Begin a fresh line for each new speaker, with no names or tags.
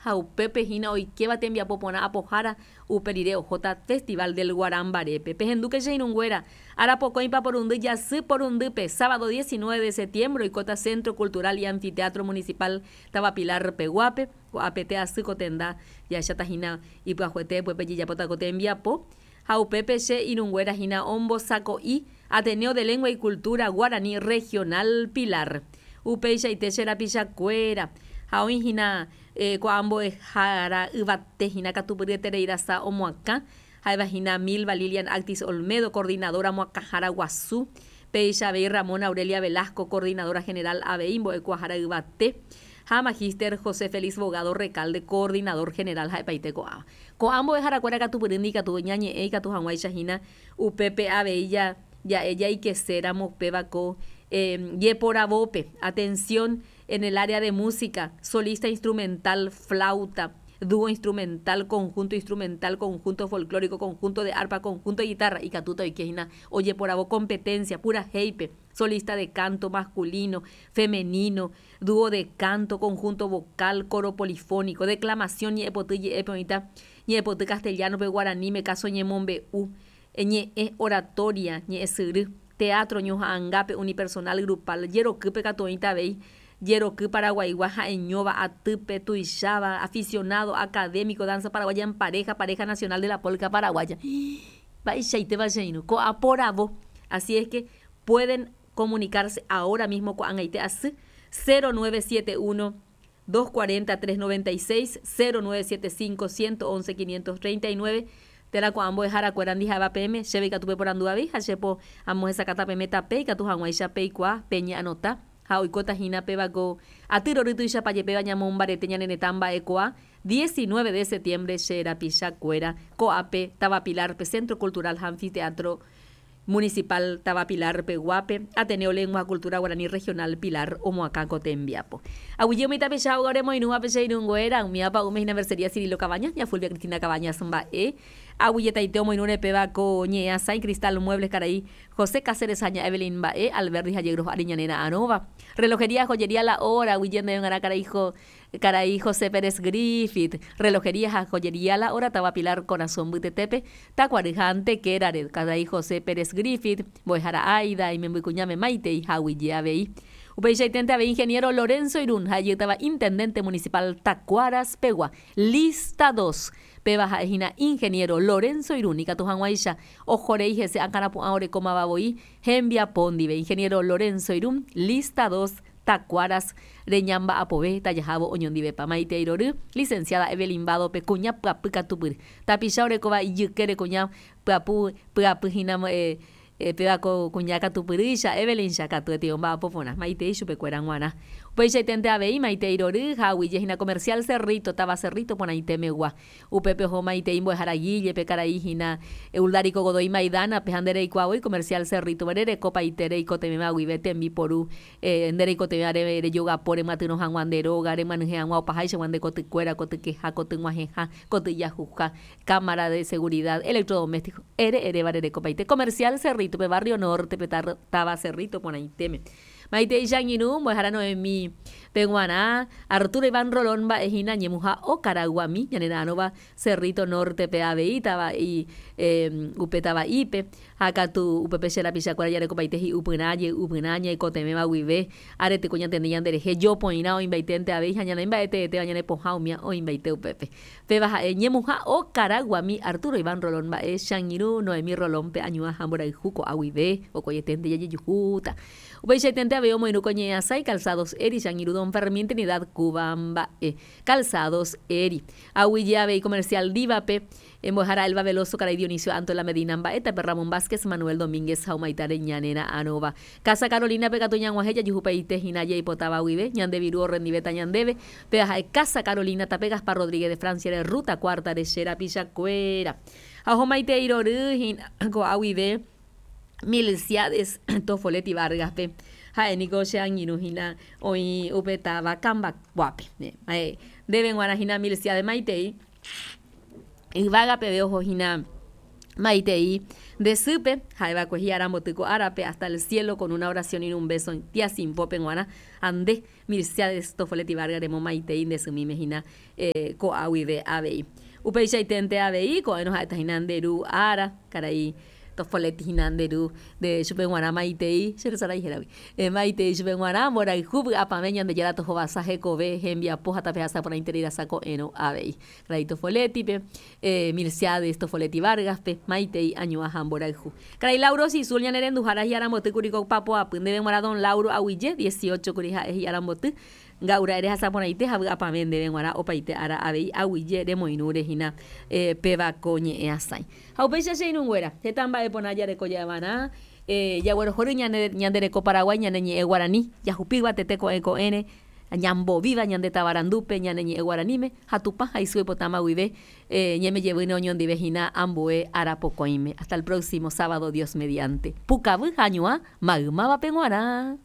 Ha upépe hína oikéva tembiapo porã apohára, upe rire ohóta Festival del Guarambarépe. Pehendúke che irũnguéra, ára pokõipa porundy jasy porundýpe, sábado 19 de septiembre oikóta Centro Cultural y Anfiteatro Municipal Táva Pilar peguápe, ko'ápete asy ko tenda jahecháta hína ipyahuete upépe jejapóta ko tembiapo, ha upépe che irũnguéra hína ombosako'i Ateneo de Lengua y Cultura Guaraní Regional Pilar. Upeichaite che rapichakuéra, ha oĩ hína ko'ã mbo'ehára yvate hína katupyryeterei rasa omoakã, ha'éva hína Milva Lilian Actis Olmedo, coordinadora moakãhára guasu, péicha avei Ramona Aurelia Velasco, coordinadora general avei mbo'ekuaahára yvate, ha Magíster José Félix Bogado Recalde, coordinador general ha'epaite ko'ãva. Ko'ã mbo'eharakuéra katupyry ndikatu ñañe'ẽ ikatu hag̃uáicha hína upépe avei ja'e jaikeséramo upéva ko jeporavópe, atención, en el área de música, solista instrumental, flauta, dúo instrumental, conjunto instrumental, conjunto folclórico, conjunto de arpa, conjunto de guitarra, ikatúta oike hína ojeporavo competencia purahéipe, solista de canto masculino, femenino, dúo de canto, conjunto vocal, coro polifónico, declamación ñe'ẽpoty je'épe oĩta ñe'ẽpoty castellano-pe, guaraníme, káso ñemombe'u, ñe'ẽ, oratoria, ñe'ẽsyry, teatro, ñoha'ãngápe, unipersonal, grupal, jerokýpe katu oĩta avei, jeroky paraguaigua ha'eñóva, atýpe, tuicháva, aficionado, académico, danza paraguaya en pareja, pareja nacional de la polca paraguaya. Mba'eichaitépa che irũ, ko'a poravo, así es que pueden comunicarse ahora mismo ko'ag̃aite asy, 0971 240 396, 0975 111 539, térã ko'ã mbo'eharakuéra ndiha'éva peẽme, chéve ikatu peporandu avei ha che po amohesakãta peẽme tape ikatu hag̃uáicha peikuaa, peñe'anota ha oikóta hína péva ko aty rory tuichapa jepéva ñamombarete ñane retã mba'ekuaa, 19 de septiembre che rapichakuéra ko'ápe táva Pilar-pe Centro Cultural ha Anfiteatro Municipal Táva Pilar peguápe, Ateneo Lengua ha Cultura Guarani Regional Pilar omoakã ko tembiapo. Aguyje umi tapicha óga oremoirũvape che irũnguéra, umíva pa'ũme hína Mercería Cirilo Cabañas, ña Fulvia Cristina Cabañas mba'e. Aguyjetaite omoirũre péva ko ñe'ẽ asãi Cristal Muebles karai José Cáceres ha ña Evelyn mba'e, Alberdi ha Yegros ári ñane ra'arõva. Relojería Joyería La Hora, aguyje ndéve g̃uarã karai Karai José Pérez Griffith, Relojería ha Joyería La Hora táva Pilar Korasõ mbytetépe, Takuary ha Antequérare, Karai José Pérez Griffith, mbo'ehára Aida, imembykuñáme Maitei ha Aguyje avei. Upeichaiténte avei Ingeniero Lorenzo Irún ha ijytava Intendente Municipal Tacuaras pegua, Lista dos, péva ha'e hína Ingeniero Lorenzo Irún ikatu hag̃uáicha ohorei hese akãrapu'ã orekómava voi hembiapo ndive. Ingeniero Lorenzo Irún, Lista dos, Tacuaras reñamba'apove tajahávo oñondivepa. Maitei rory, Licenciada Evelyn Vado-pe kuña pyapy katupyry. Tapicha orekóva ijykére kuña pyapu pyapy hína péva ko kuña katupyrýicha, Evelyn-cha katuete omba'apo porã. Maitei chupekuéra g̃uarã. Upeichaiténte avei maitei rory ha aguyje hína Comercial Cerrito, táva Cerrito porãite megua. Upépe oho maitei mbo'ehára Guille-pe karai hína Euldárico Godoy Maidana-pe ha nde reikuaa voi Comercial Cerrito-pe rereko paite reikotevẽva guive tembiporu Nde reikotevẽ are rejogapo remyatyrõ hag̃ua nde róga, remyanyhẽ hag̃ua opaháichagua nde kotykuéra, kotykeha, kotyg̃uahẽha, kotyjahuha, cámara de seguridad, electrodoméstico, ere eréva rerekopaite. Comercial Cerrito-pe, Barrio Norte-pe, táva Cerrito porãitéme. Maitei che angirũ, mbo'ehára Noemí pe g̃uarã, Arturo Iván Rolón mba'e hína ñemuha Okaraguami, ñanera'arõva Cerrito Norte-pe avei, tava'i upe tava'ípe. Ha katu upépe che rapichakuéra jarekopaite hi'upyrã, jey'upyrã, ñaikotevẽva guive, arete ko ñantende ñanderehe, jopoirã oĩmbaiténte avei ha ñane mba'e teetéva ñane pohã umía oĩmbaite upépe. Péva ha'e ñemuha okaraguami Arturo Iván Rolón mba'e, che angirũ Noemí Rolón pe añuã ha mborayhu ko'a guive, vokoieténte jajejuhúta. Upeichaiténte avei omoirũ ko ñe'ẽasãi Calzados Eri, che angirũ Don Fermín Trinidad Cuba mba'e. Calzados Eri. Aguyje avei Comercial Diva-pe, Embohára Elba Veloso, karai Dionisio Antola Medina mba'e, tape Ramón Vázquez, Manuel Domínguez ha umaitare ñane ra'arõva. Casa Carolina-pe katu ñag̃uahẽ jajuhupaite hína jaipotáva guive, ñande viru orrendivéta ñandéve, péva ha'e Casa Carolina, tape Gaspar Rodríguez de Francia-re, Ruta Cuarta-re che rapichakuéra. Ha ohomaitei rory hína ko'a guive Milciades Tofoletti Vargas-pe, ha'e niko che angirũ hína oĩ upe táva Kambakuápe. Ndéve g̃uarã hína Milciades maitei. Yvága peve oho hína. Maitei nde sýpe, ha'eva'ekue hi'aramboty ko árape, hasta el cielo con una oración y un beso tía Sinfópe g̃uarã, ha nde, Mirciades Tofoletti Vargas remo maitei nde symíme hína ko'a guive avei. Upeichaiténte avei, ko'ẽrõ ha'éta hína nde ru ára, karai Tofoletti hína nde ru, nde chupe g̃uarã maitei, che resarái héragui, maitei chupe g̃uarã, mborayhu vy'apavẽ Ñandejára tohovasa hekove, hembiapo ha tapehasa porãiterei rasa ko'ẽrõ avei. Karai Tofoletti-pe, Milciades Tofoletti Vargas-pe, maitei añuã ha mborayhu. Karai Lauro Sisul ñane renduhára hi'aramboty kuri ko papoapy ndéve g̃uarã Don Lauro aguyje, 18 kuri ha'e hi'aramboty, nga'u ra'e rehasa porãite ha vy'apavẽ ndéve g̃uarã opaite ára avei aguyje remoirũre hína péva ko ñe'ẽ asãi. Ha upéicha che irũnguéra, heta mba'e porã jareko ja'evarã, jaguerohory ñane ñande reko Paraguái ñane ñe'ẽ guarani, jahupíva tete ko'ẽ ko'ẽre, Ñambovíva ñande tavarandúpe ñane ñe'ẽ guaraníme ha Tupã ha isy oipotáma guive ñeme jevýne oñondive hína ambue ára pokõime. Hasta el próximo sábado Dios mediante. Pukavy ha añuã maymávape g̃uarã.